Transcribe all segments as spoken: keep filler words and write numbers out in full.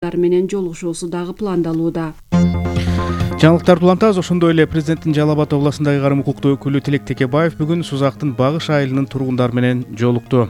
менен жолугушуусу дагы пландалууда. Жаңылыктарды улантабыз. Ошондой эле президенттин Жалал Абад областындагы ыйгарым укуктуу өкүлү Тилек Текебаев бүгүн Сузактын Багыш айылынын тургундары менен жолукту.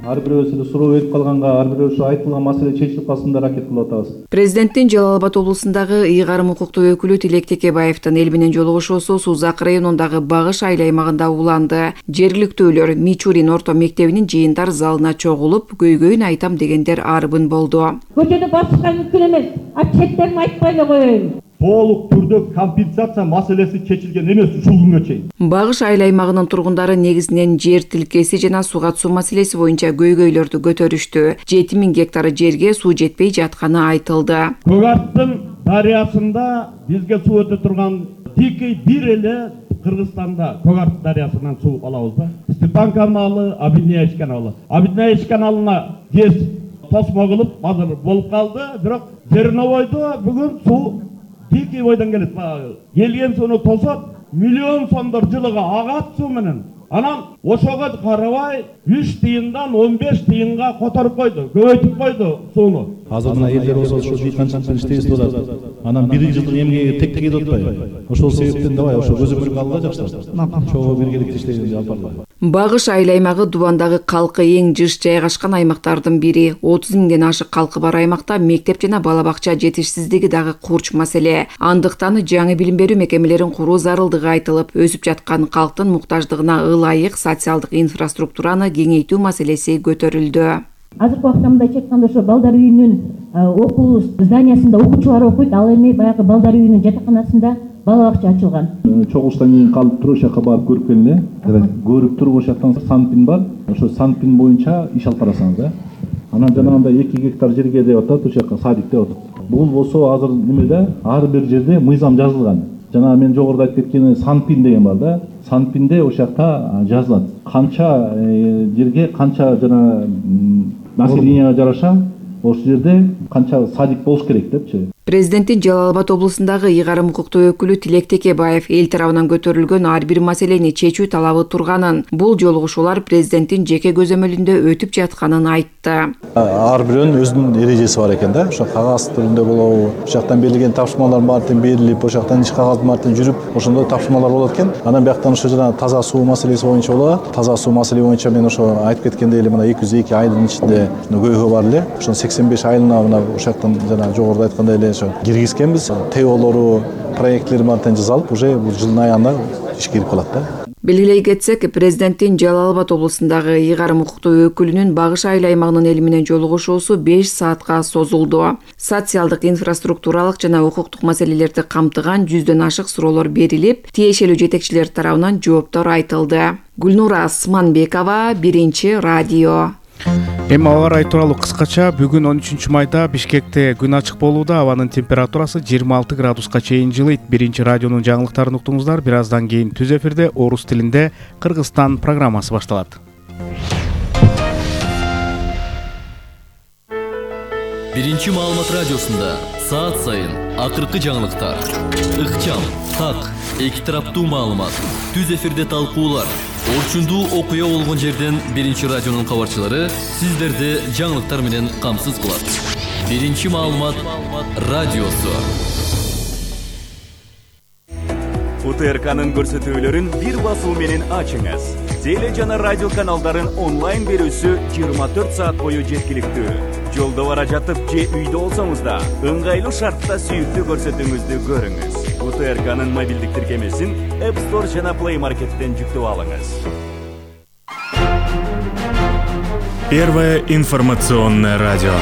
Ар бирөөбүз эле суроо берип калганга, ар бирөө ушу айтылган маселе чечилип калсын деп аракет кылып атабыз. Президенттин Жалал Абад областындагы ыйгарым укуктуу өкүлү Тилек Текебаевдин эл менен жолугушуусу Сузак районундагы Багыш айыл аймагында уланды. Жергиликтүүлөр Мичурин орто мектебинин жыйындар залына чогулуп, көйгөйүн айтам дегендер арбын болду. Көчөдө басышка мүмкүн эмес. А четтерин айтпай эле коеюн. Толук түрдө компенсация маселеси чечилген эмес ушул күнгө чейин. Багыш айыл аймагынын тургундары негизинен жер тилкеси жана суга түсүү маселеси боюнча көйгөйлөрдү көтөрүштү. жети миң гектар жерге суу жетпей жатканы айтылды. Көгартын дарыясында бизге суу өтө турган тикей бир эле Кыргызстанда Көгартын дарыясынан суу алабыз да. Степан каналы, Абидняевич каналы. Абидняевич каналына кез тосмо кылып азыр болуп калды, бирок Жерновойдо бүгүн суу тикей бойдон келет. Келген сууну тосот, миллион сомдор жылыга агат суу менен. Анан ошого карабай үч тыйындан он беш тыйынга которуп койду, көбөйтүп койду сууну. Азыр мына элдер болсо ошо дыйканчылыктын иштебиз деп атат. Анан бир жылдык эмгеги тек тек кетип атпайбы? Ошол себептен давай ошо көзөмөлгө алгыла жакшылар. Чогуу биргеликте иштейбиз алып баргыла. Багыш айыл аймагы Дубандагы калкы эң жыш жайгашкан аймактардын бири. отуз миңден ашык калкы бар аймакта мектеп жана бала бакча жетишсиздиги дагы курч маселе. Андыктан жаңы билим берүү мекемелерин куруу зарылдыгы айтылып, өсүп жаткан калктын муктаждыгына ылайык социалдык инфраструктураны кеңейтүү маселеси көтөрүлдү. Азыркы убакта мындайча айтканда ошо балдар үйүнүн окуу зданиясында окуучулар окуйт, ал эми баягы балдар үйүнүн жатаканасында бала бакча ачылган. Чогулуштан кийин калып туруп ошол жака барып көрүп келин эле. Көрүп туруп ошол жактан Санпин бар. Ошо Санпин боюнча иш алып барасыңыз да. Анан жанагындай эки гектар жерге деп атат, ошол жака садик деп атат. Бул болсо азыр немеде ар бир жерде мыйзам жазылган. Жана мен жогоруда айтып кеткен Санпин деген бар да. Санпинде ошол жакта жазылат. Канча жерге канча жана населенияга жараша ошол жерде канча садик болуш керек депчи. Президенттин Жалал Абад областындагы ыйгарым укуктуу өкүлү Тилек Текебаев эл тарабынан көтөрүлгөн ар бир маселени чечүү талабы турганын, бул жолугушуулар президенттин жеке көзөмөлүндө өтүп жатканын айтты. Ар бирөөнүн өзүнүн эрежеси бар экен да. Ошо кагаз түрүндө болобу, ошол жактан берилген тапшырмалар баардыгы берилип, ошол жактан иш кагаз баардыгы жүрүп, ошондой тапшырмалар болот экен. Анан бияктан ошо жана таза суу маселеси боюнча болот. Таза суу маселе боюнча мен ошо айтып кеткендей эле мына эки жүз эки айылдын ичинде көйгөй бар эле. Ошо сексен беш айылына мына ошол жактан жана жогоруда айткандай эле киргизкенбиз. ТОлору, проектлери баардыгын жасалып, уже бул жылдын аягында ишке кирип калат да. Белгилей кетсек, президенттин Жалал Абад областындагы ыйгарым укуктуу өкүлүнүн Багыш айыл аймагынын эл менен жолугушуусу беш саатка созулду. Социалдык, инфраструктуралык жана укуктук маселелерди камтыган жүздөн ашык суроолор берилип, тиешелүү жетекчилер тарабынан жооптор айтылды. Гүлнура Асманбекова, Биринчи радио. Эми аба ырайы тууралуу кыскача. Бүгүн он үчүнчү майда Бишкекте күн ачык болууда. Абанын температурасы жыйырма алты градуска чейин жылыйт. Биринчи радионун жаңылыктарын уктуңуздар. Бир аздан кийин түз эфирде орус тилинде Кыргызстан программасы башталат. Биринчи маалымат радиосунда саат сайын акыркы жаңылыктар, ыкчам, так, эки тараптуу маалымат, түз эфирде талкуулар, орчундуу окуя болгон жерден Биринчи радионун кабарчылары сиздерди жаңылыктар менен камсыз кылат. Биринчи маалымат радиосу. УТРКнын көрсөтүүлөрүн бир басуу менен ачыңыз. Теле жана радио каналдарын онлайн берүүсү жыйырма төрт саат бою жеткиликтүү. Жолдо бара жатып же үйдө болсоңуз да ыңгайлуу шартта сүйүктүү көрсөтүүңүздү көрүңүз. УТРКнын мобилдик тиркемесин App Store жана Play Market'тен жүктөп алыңыз. Первое информационное радио.